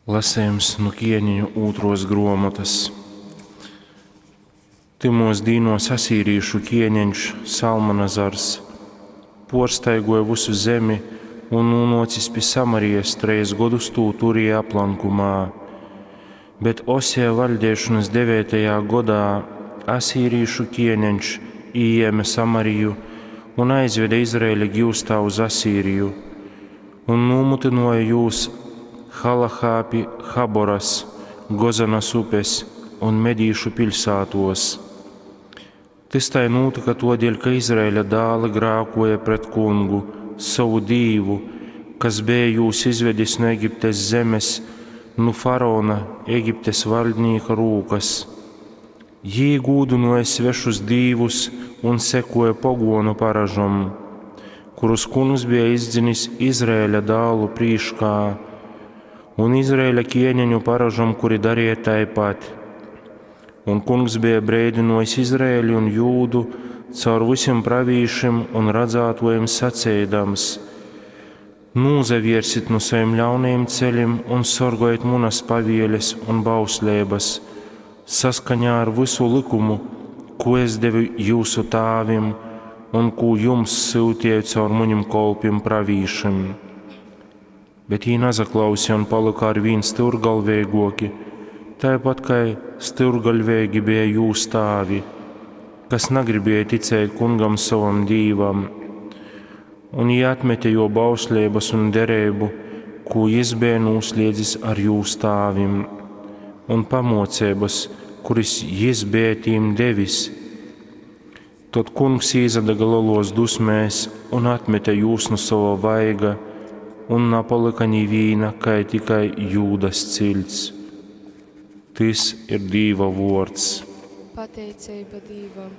Lasejums nu Kieneņu ūtruos gruomotys. Tymuos dīnuos asīrīšu kieneņš Salmanazars puorstaiguoja vysu zemi un, nūnuocis pi Samarijas, trejs godus tū turēja aplankumā. Bet Oseja vaļdeišonys deveitajā godā asīrīšu kieneņš ījēme Samariju un aizvede Izraeļa giustā uz Asīriju un nūmytynuoja jūs Halahā pi Haboras, Gozanas upes un medīšu piļsātuos. Tys tai nūtyka tuodeļ, ka Izraeļa dāli grākuoja pret Kungu, sovu Dīvu, kas beja jūs izvedis nu Egiptes zemes, nu faraona, Egiptes vaļdnīka rūkas. Jī gūdynuoja svešus dīvus un sekuoja poguonu paražom, kurus Kungs beja izdzinis Izraeļa dālu prīškā, un Izraeļa kieneņu paražom, kuri dareja taipat. Un Kungs beja breidynuojis Izraeli un Jūdu caur vysim pravīšim un radzātuojim saceidams: Nūsaviersit nu sovim ļaunajim celim un sorgojit munas pavieles un bausleibas saskaņā ar vysu lykumu, kū es devu jyusu tāvim un kū jums syutieju caur munim kolpim pravīšim. Bet jī nasaklauseja un palyka arvīn styurgalveiguoki, taipat kai styurgaļveigi beja jūs tāvi, kas nagribēja ticēt Kungam sovam Dīvam. Un jī atmete juo bausleibys un dereibu, kū jis beja nūsliedzis ar jūs tāvim, un pamuoceibys, kurys jis beja tīm devis. Tod Kungs īsadaga leluos dusmēs un atmete jūs nu sova vaiga, un napalyka nivīna, kai tikai Jūdas ciļts. Tys ir Dīva vuords. Pateiceiba Dīvam.